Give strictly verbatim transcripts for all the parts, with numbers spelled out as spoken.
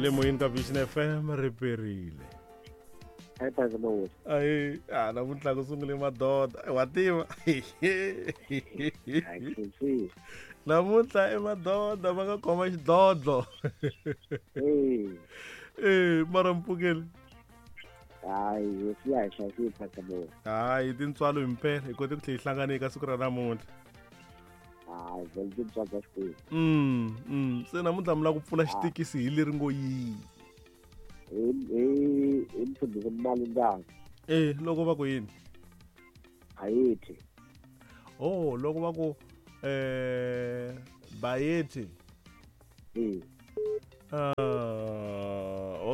Mi le moyeni ka Vision F M ri perile. Hi Pastor Mawusi. Ayi, a namuntlha ku sungule madoda. Wa tiva. Namuntlha i madoda va nga khoma xidlodlo. Eh. Eh, mara mpfukeli. Hayi, hosi ya hi hlayisile Pastor Mawusi. Hayi, tintswalo himpela hi kote ku tlhela hi hlangana eka siku ra namuntlha. Hayi, vele tintswalo ta Xikwembu. Mm, mm. Se namuntlha mi lava ku pfula xitekisi hi leri ngo yini? Hi hi hi mfundhisi Malindana. Eh, loko va ku yini? Bayeti. Oh, loko va ku eh Bayeti. Eh. Ah,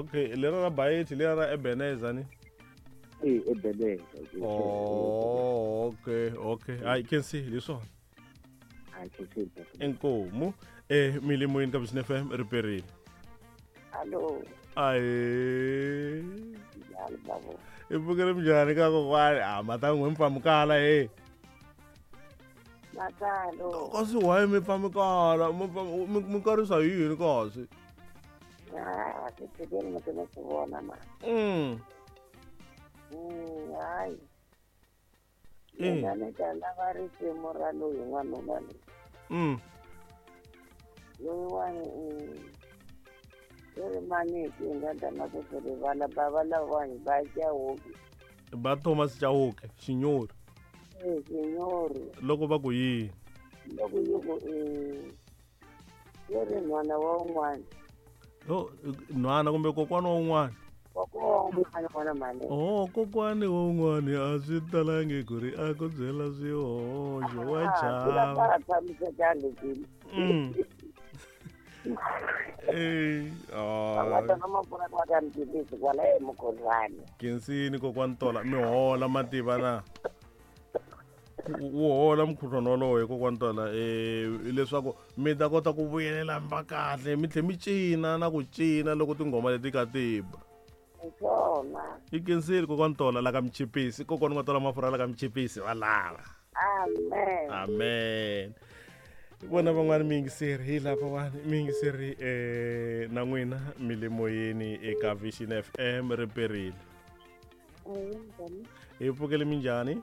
okay, lera ra Bayeti lera ra Ebenezer ni? Eh, Ebenezer. Oh, okay, okay. I can see leswona. I can see. Inkomu eh mi le moyeni ka Vision F M ri perile. Allo. Ayi. Njhani babo? I pfukile minjhani ka kokwani? Ah, mata n'we mi pfamukala he. Matalo. Kasi why mi pfamukala? Mi mi karisa hi yini kasi? Ah, ti tshikeni mi mi swi vona ma. Mm. Mm, hayi. Mina ni ta lava risimu ra loyi n'wanuna loyi. Mm. Loyiwani i ri maniki hi nga ta na ku swi rivala bava lavawani ba Chauke. Ba Thomas Chauke, Xinyori. Eh, Xinyori. Loko va ku yini? Loko yi ku i yi ri nhwana wa un'wana. Oh, nhwana kumbe kokwana wa un'wana? Kokwana wa un'wana n'wana mhani. Oh, kokwana wa un'wana a swi talangi ku ri a ku byela swihoxo wa chava. A va tshamisekangi swilo. Mm. Eh, ah. Kensini kokwani Tola mi hola mativa na. Wu hola mukhuhlwana wolowo kokwani Tola eh leswaku mi ta kota ku vuyelela mba kahle mi tlhe mi cina na ku cina loko tinghoma leti ka tiba. I kensini kokwani Tola la ka Michipisi kokwani nga Tola mafurha la ka Michipisi va lava. Amen. Amen. Vona van'wani mi yingiseri hi lava wani mi yingiseri eh na n'wina mi le moyeni eka Vision F M ri perile. Hi pfukele minjhani?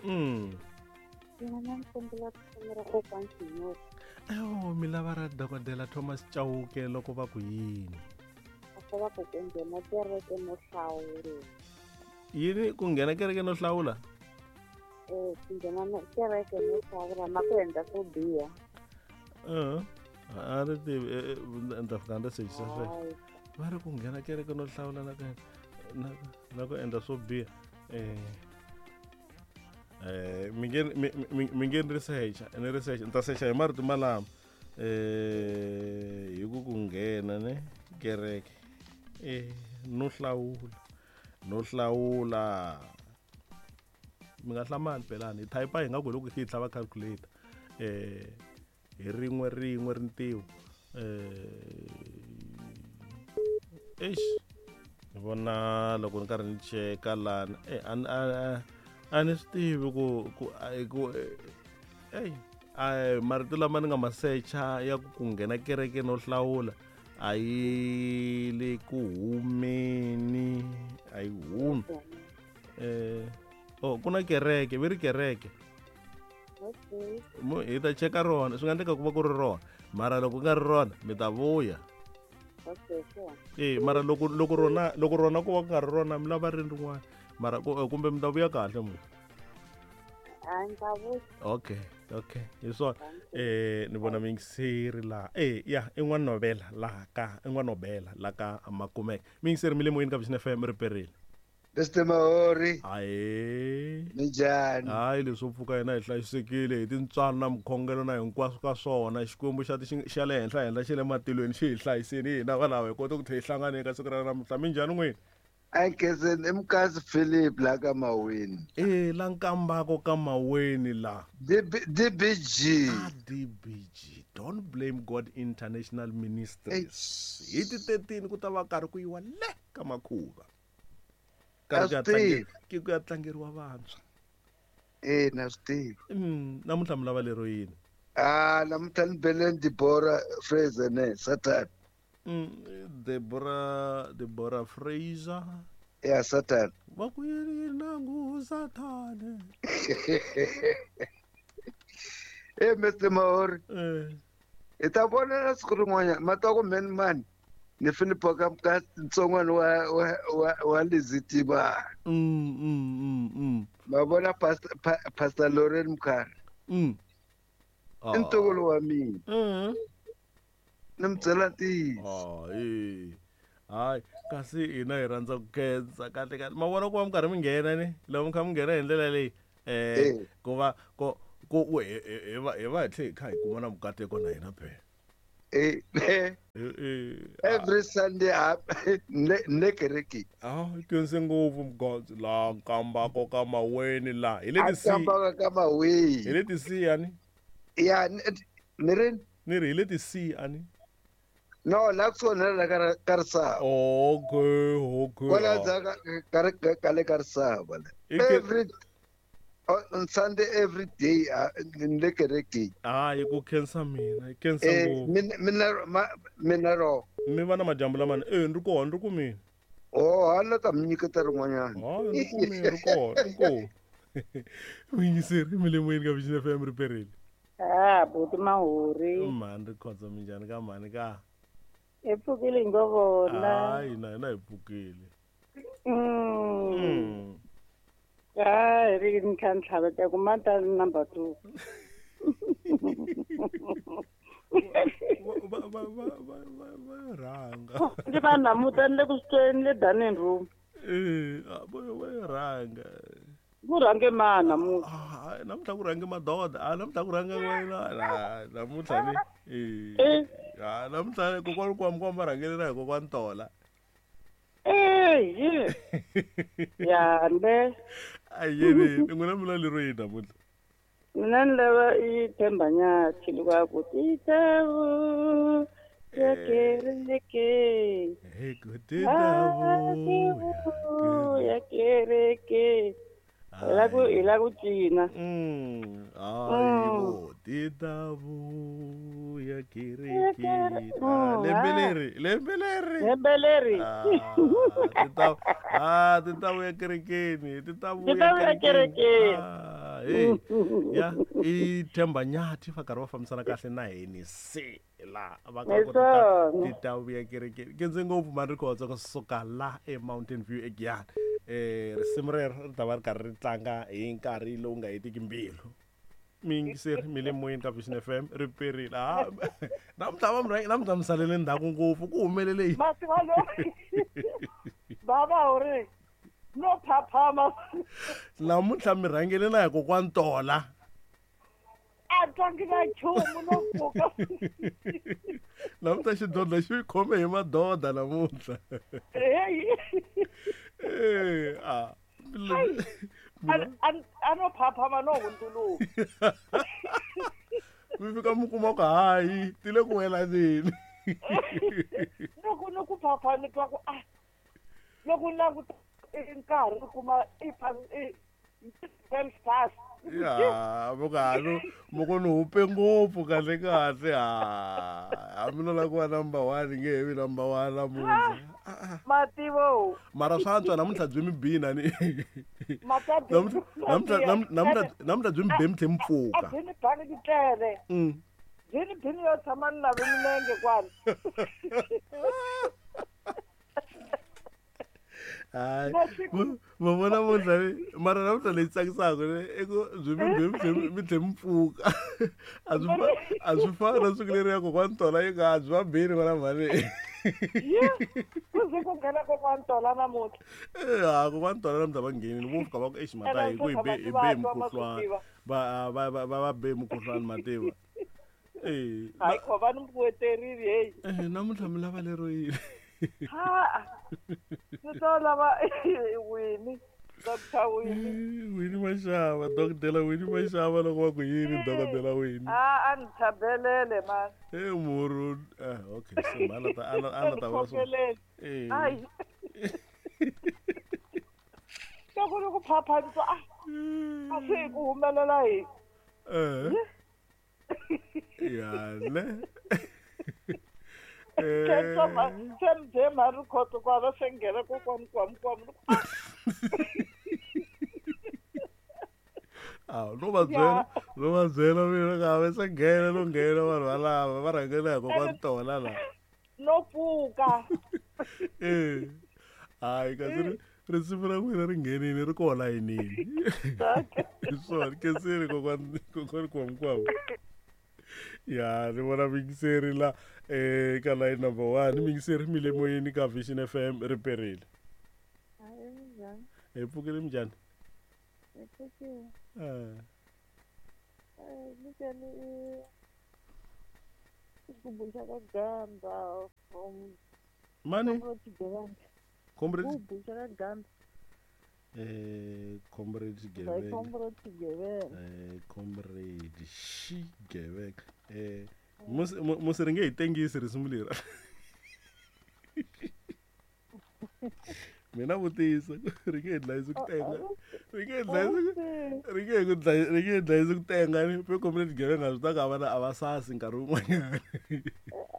Mm. Oh, mi lava ra dokodela Thomas Chauke loko va ku yini? Va ku ku nghena kereke no hlawula. Yini ku nghena kereke no hlawula? Eh, ku nghena kereke no hlawula na ku endla swo biha. Eh, a ri tivi ni ta fika ni sechisa sweswo. Va ri ku nghena kereke no hlawula na ku na na ku endla swo biha. Eh eh mi nge mi nge ni research ni research ni ta secha hi marito malama eh hi ku ku nghena ne kereke eh no hlawula no hlawula mi nga hlamali pelani hi type hi nga ku loko hi tlhava calculator eh hi rin'we rin'we rintiwo eh eish ni vona loko ni karhi ni cheka lana eh a a ni swi tivi ku ku ku ey a marito lama ni nga ma secha ya ku ku nghena kereke no hlawula a yi le ku humeni a yi humi eh oh ku na kereke vi ri kereke Okay. Hi ta cheka rona swi nga endleka ku va ku ri rona mara loko ku nga ri rona mi ta vuya. Okay, sure. Eh mara loko loko rona loko rona ku va ku nga ri rona mi lava ri rin'wana mara kumbe mi ta vuya kahle mu. A ni ta vuya. Okay, okay. Hi swona eh ni vona miyingiseri laha eh ya i n'wanovela laha ka i n'wanobela la ka Makumeka. Miyingiseri mi le moyeni ka Vision F M ri perile. Mister Mahori. Ayi. Minjhani? Hayi leswo pfuka yena hi hlayisekile hi tintswalo na mikhongelo na hinkwaswo ka swona Xikwembu xa xa le henhla henhla xa le matilweni xi hi hlayisile hina valava hi kota ku tlhela hi hlangana eka siku ra namuntlha. Minjhani n'wina? A nkhenseni i Mukasi Philip la ka Maweni. Eh la Nkambako ka Maweni la. D B G. Ah, D B G. Don't Blame God International Ministries. Hi ti thirteen ku ta va karhi ku yiwa le ka makhuva. Karhi ku ya tlangeriwa vantshwa. Eh na swi tivi. Mm, namuntlha mi lava lero yini? Ah, namuntlha ni bele Deborah Fraser ne Satan. Mm, Deborah Deborah Fraser. Ya Satan. Va ku yini nangu Sathane. Eh Mister Mahori. Eh. I ta vona siku rin'wanyana ma twa ku man man ni Philip ka ka ntsongwana wa wa wa, wa Lizitiba. Mm mm mm mm. Ma vona Pastor pa, Pastor Lauren Mkhari. Mm. I ntukulu wa mina. Mm. Ni mi byela ntiyiso. Ah, eh. Hayi, kasi hina hi rhandza ku khensa kahle kahle. Ma vona ku va mi karhi mi nghena ni loko mi kha mi nghena hi ndlela leyi eh ku va ku ku hi hi va hi va hi tlhe hi kha hi kuma na mukateko na hina phela. Eh, Eh, eh, every Sunday ne ne kerekeni. Ah, khense ngopfu mugandzi laha nkambako ka maweni laha hi le A ti C kambaka ka maweni. hi le ti C ani Ya ni ri ni ri hi le ti C ani. No, la kusuhi na la ka ka Risava. Okay, okay. Kwala ndzhaku ka ka ka le ka Risava la. Every on Sunday every day ni le kerekeni. Hayi ku khensa mina, khensa Eh ngopfu. mina mina mina ro. Mi va na madyambu lamani eh ni ri kona ni ri ku mina. Oh, hala ta mi nyiketa rin'wanyana. Hayi ni ri ku mina ri kona, ri kona. Muyingiseri mi le moyeni ka Vision F M ri perile. Ah, buti Mahori. Mhani ri khotsa minjhani ka mhani ka? Hi pfukile hi ngo vona. Hayi na hina hi pfukile. Mm. Mm. Hayi ri ni kha ni tlhaveta ku mata number two. Va va va va va va rhanga. Ndzi va namuta ni le ku swi tweni le dining room. Eh, va va rhanga. Ku rhange ma namuntlha. Ah, namuntlha ku rhange madoda. Ah, namuntlha ku rhange wena. Ah, namuntlha ni. Eh. Eh. Ah, namuntlha kokwani kwami kwami va rhangelela hi kokwani Tola. Eh, yi. Ya ne. Ayeni, n'wina mi lero yini namuntlha? Mina ni lava i Themba Nyathi loko a ku ti ta vuya kereke. Hi ku ti ta vuya kereke. Hi la ku hi la ku cina. Mm. Hayi bo, ti ta vuya kerekeni. Ah, lembe leri, lembe leri. Lembe leri. Ah, ti ta ah, ti ta vuya kerekeni, ti ta Ti ta vuya kerekeni. Ah, hey. Ya, i Themba Nyathi va karhi va fambisana kahle na hini se la va ka ku ti ta vuya kerekeni. Khense ngopfu mani ri khotsa ku suka la e Mountain View eGiyani. Eh risimu rero ri ta va ri karhi ri tlanga hi nkarhi lowu nga hetiki mbilu. Miyingiseri mi le moyeni ka Vision F M ri perile. Ah, namuntlha va mi rhange namuntlha mi salele ndzhaku ngopfu ku humelele yini? Masiva lo. Baba uri no phaphama. Namuntlha mi rhangele na hi kokwani Tola. A twangi na nchumu no pfuka. Namuntlha xidlodlo xi khome hi madoda namuntlha. Hey. Eh, ah. A a no phaphama no hundzuluka. Mi fika mi kuma ku hayi ti le ku welaneni. Loko ni ku phapha ni twa ku ah loko ni languta nkarhi ni kuma i i ten past. Ya, mukano moko ni hupe ngopfu kahle kahle ha. A mina la ku va number one nge he vi number one namuntlha. Mativo. Mara swa antswa namuntlha byi mi bina ni. Namuntlha namuntlha namuntlha namuntlha byi mi be mi tlhe mi pfuka. A byi ni bangi titlele. Mm. Byi ni bini yo tshama ni nave milenge kwala. Hayi, ma vona namuntlha mara namuntlha leyi tsakisaka ne i ku byi mi be mi tlhe mi tlhe mi pfuka. A swi a swi fani na siku leriya kokwani Tola yi nga byi va bini n'wana mhani. Ye, ku ze ku nghena kokwani Tola namuntlha. Eh, ha kokwani Tola namuntlha va nghenile vo fika va ku exi mata hi ku hi be hi be mukhuhlwani. Va va va va be mukhuhlwani mativa. Eh, hayi kho va ni mbuyeterile hey. Eh, namuntlha mi lava lero yini? Ha. Ni to lava Winnie, Doctor Winnie. Winnie Mashava, Doctor Winnie Mashava loko va ku yini Doctor Winnie. Ah, a ni tlhabelele man. Eh muru, ah okay, se mala ta ana ana ta va so. Eh. Ai. Loko ni ku phapha ni twa ah. A swi ku humelela hi. Eh. Ya ne. Se ni bye mhani Rikhotso ku hava se nghena kokwani Kwamukwamu. Ah, no va byela, no va byela mina ka va se nghena no nghena vanhu valava va rhangela hi kokwani Tola la. No pfuka. Eh. Hayi kasi risimu ra n'wina ri nghenile ri kona layinini. Hi swona khensile kokwani kokwani Kwamukwamu. Ya ni vona muyingiseri la eh ka line number one muyingiseri mi le moyeni ka Vision F M ri perile. Hayi minjhani? Hi pfukile minjhani? Hi pfukile. Eh. Eh nyikeni xigubu xa ka Ganda from Mani? Comrade Xigubu xa ka Ganda. Eh Comrade Xigevenga. Comrade Xigevenga. Eh Comrade Xigevenga. Eh musi musi ri nge hi tengisi risimu leri. Mina vutisa ri nge hi dlayisi ku tenga. Ri nge hi dlayisi ri nge ku dlayi ri nge hi dlayisi ku tenga ni pe Comrade Xigevenga swi ta ka vana a va sasi nkarhi wun'wanyana.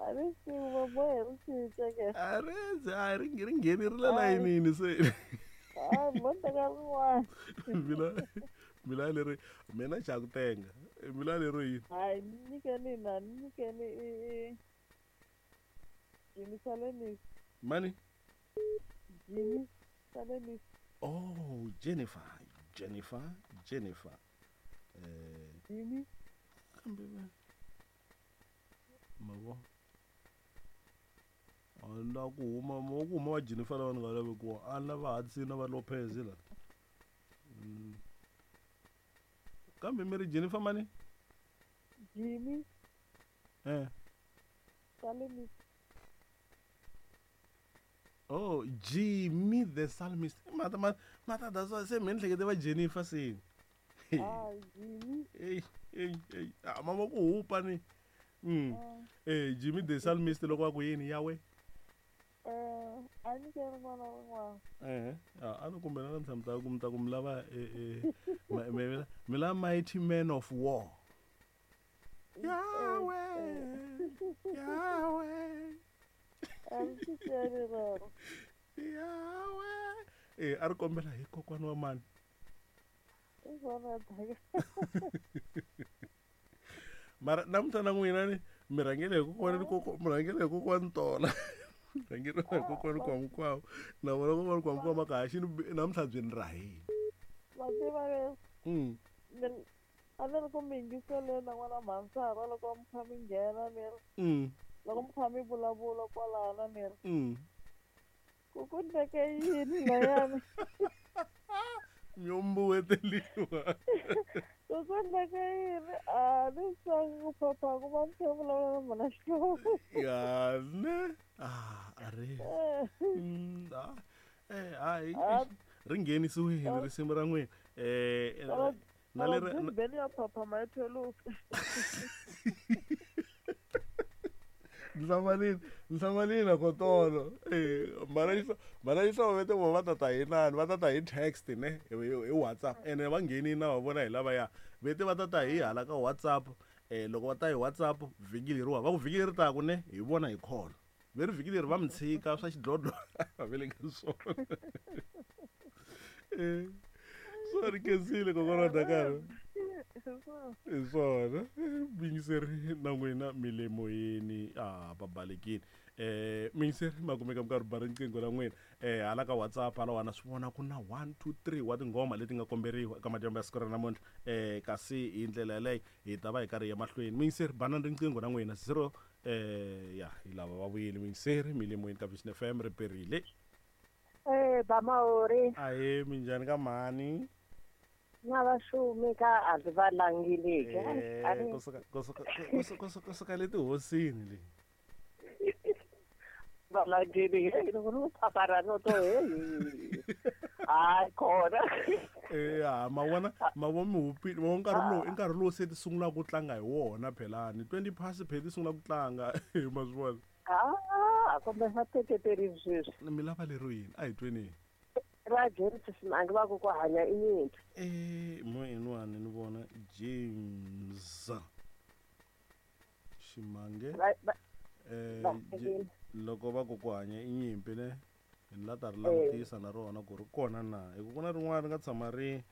A ri swi va bohe ri cinca ke. A ri a ri ri nghenerile layinini se. Ah, mo teka rin'wana. Mina mina leri mina xa ku tenga. Mina lero yini? Hayi nyikeni na nyikeni i Jimmy Salemisi. Mani? Jimmy Salemisi. Oh, Jennifer, Jennifer, Jennifer. Eh Jimmy. Kambe mavo. A la ku huma mo ku huma wa Jennifer lava ni nga lavi ku a lava Hudson na va Lopez la. Kambe mi ri Jennifer mani? Jimmy. Eh. Salemisi. Oh, Jimmy the Psalmist. Mata mata mata that's why se mina hlekete va Jennifer se. Ah, Jimmy. Ey, ey, ey. Ah, mama ku hupa ni. Mm. Eh, Jimmy the Psalmist loko va ku yini yawe? Eh, a ni ke rin'wana rin'wana. Eh, ah, a ni kumbe na namuntlha mi ta ku mi ta ku mi lava eh eh mi lava mighty man of war. Yahweh. Yahweh. A ri cinceli rero. Yahweh. Eh, a ri kombela hi kokwana wa mani? I swona daka. Mara namuntlha na n'wina ni mi rhangele hi kokwana ni koko mi rhangele hi kokwani Tola. Rhangele hi kokwani Kwamukwamu. Na vona kokwani Kwamukwamu ka ha xi namuntlha byi ni rahile. Ma tiva leswi? Mm. A ni ri ku mi yingiseleni na n'wana mhansara loko mi kha mi nghena ni ri. Mm. Loko mi kha mi vulavula kwalano ni ri. Mm. Ku ku ndleke yini layani? Mi mbuweteliwa. Ku ku ndleke yini? A ni swi ku phapha ku va mi kha mi vulavula na mhana Xikwembu. Ya ne. Ah, a ri. Mm, ah. Eh, hayi. Ri nghenisiwile risimu ra n'wina. Eh, na leri beni ya phaphama ya thweluka. Nhlamalini, nhlamalini kotolo. Eh, mara yisa, mara yisa va vete va ta ta hi nani, va ta ta hi text ne, hi WhatsApp. Ene va ngheni na va vona hi lava ya. Vete va ta ta hi hala ka WhatsApp. Eh, loko va ta hi WhatsApp vhiki leriwa, va ku vhiki leri taka ne, hi vona hi call. Veri vhiki leri va mi tshika swa xidlodlo va vele ka swona. Eh, sorry khensile kokwana wa Dakar. Hi swona muyingiseri na n'wina mi le moyeni a va balekile. Eh muyingiseri ma kumeka mi karhi ba riqingho ra n'wina eh hala ka WhatsApp hala wana swi vona ku na one two three wa tinghoma leti nga komberiwa eka madyambu ya siku ra namuntlha. Eh kasi hi ndlela yaleyo hi ta va hi karhi hi ya mahlweni. Muyingiseri banani riqingho ra n'wina zero eh ya hi lava va vuyile muyingiseri mi le moyeni ka Vision F M ri perile. Eh Bamaori. Ahe minjhani ka mhani? Na va xumi ka a ndzi va langile ke. Eh kusuka kusuka kusuka kusuka le tihosini le. Va langile he loko ni phapara no to he. Hayi kona. Eh ya ma vona ma vona mi hupile ma vona nkarhi lowu i nkarhi lowu se ti sungulaka ku tlanga hi wona phelani twenty past phela ti sungula ku tlanga ma swi vona. Ah, kumbe va teketeri sweswi. Mi lava lero yini? A hi tweni. Ra James Simange va ku ku hanya i nyimpi. Eh, mo inwani ni vona James Ximange. Eh Lahlekile. Loko va ku ku hanya i nyimpi ne ni la ta ri langutisa na rona ku ri kona na hi ku ku na rin'wana ri nga tshama ri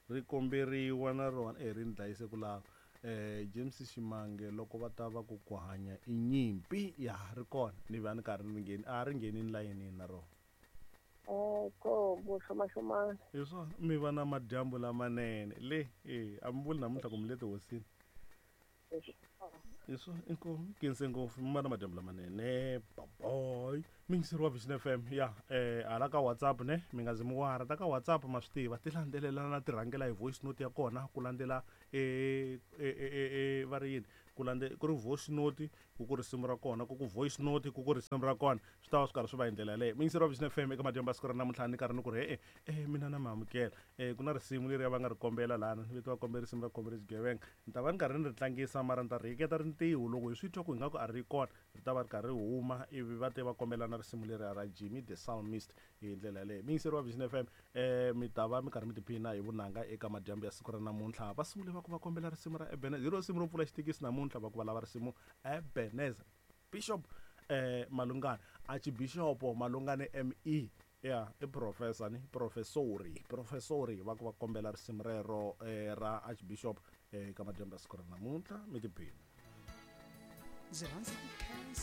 ri komberiwa na rona eh ri ni dlayise ku lava eh James Ximange loko va ta va ku ku hanya i nyimpi ya ri kona ni va ni karhi ni ngheni a ri nghenini layinini na rona. Eh ko boxomaxomana. Hi swona mi va na madyambu lamanene le e a mi vuli namuntlha ku mi le tihosini hi swona inkomu khense ngopfu mi va na madyambu lamanene baboy mingiseri wa Vision F M ya eh hala ka WhatsApp ne mi nga zi mi wara ta ka WhatsApp ma swi tiva ti landzelelana ti rhangela hi voice note ya kona ku landzela e e e va ri yini ku landze ku ri voice note ku ku risimu ra kona ku ku voice note ku ku risimu ra kona swi ta va swi karhi swi va hi ndlela yaleyo. Mingiseri wa Vision F M eka madyambu ya siku ra namuntlha ni karhi ni ku ri e e mina na mi amukela eh ku na risimu leri va nga ri kombela lana ni vito va kombela risimu ra kombela xigevenga ni ta va ni karhi ni ri tlangisa mara ni ta ri hiketa rintiho loko hi swi twa ku ingaku a ri kona ri ta va ri karhi ri huma ivi va te va kombela na risimu leri ra Jimmy the Psalmist hi ndlela yaleyo. Mingiseri wa Vision F M eh mi ta va mi karhi mi tiphina hi vunanga eka madyambu ya siku ra namuntlha va sungule va ku va kombela risimu ra Ebenezer hi ro risimu ro pfula xitekisi namuntlha va ku va lava risimu Ebenezer Bishop eh Malungane Archbishop Malungane M E ya i professor ni professori professori va ku va kombela risimu rero eh, ra Archbishop eka madyambu ya siku ra namuntlha mi tiphina. Ndzi rhandza ku khensa